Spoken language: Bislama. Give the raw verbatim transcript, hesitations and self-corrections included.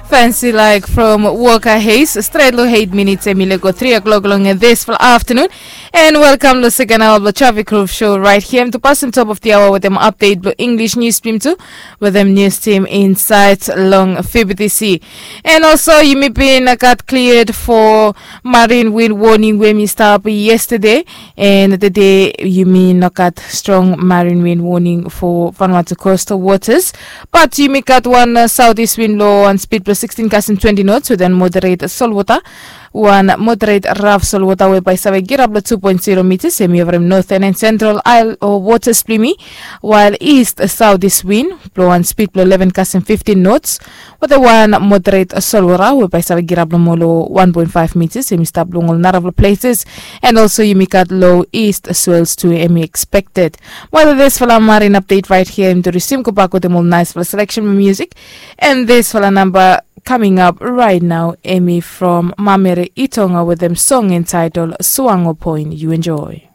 Fansi laik from Woka Heis stret long eit minits em i lego tri o'klok long disfala aftanun. And welkam long seken aoa blong Trafik Ruf Show rait hia em tu pasin top of the hour wetem update blong English nius tim tu wetem nius tim insait long F B T C. And also yumi bin gat cleared for marine wind warning we mi stap yesterday. And today yumi no gat strong marine wind warning for Vanuatu coastal waters. But yumi gat one uh, southeast wind low on speed plus sixteen kasin twenty knots with an moderate salt water. One moderate rough salt water whereby save get up to two point zero meters semi over northern and central isle or waters plimi. While east southeast wind blow on speed below eleven kasin fifteen knots with a one moderate salt water whereby save get up more low one point five meters semi stop long all naraful places. And also yumi gat low east swells to emi expected. Well, this fala marine update right here em to resume go back with them all nice fala selection music. And this fala number coming up right now emi from Mamere Itonga with them song entitled Suango Point. You enjoy.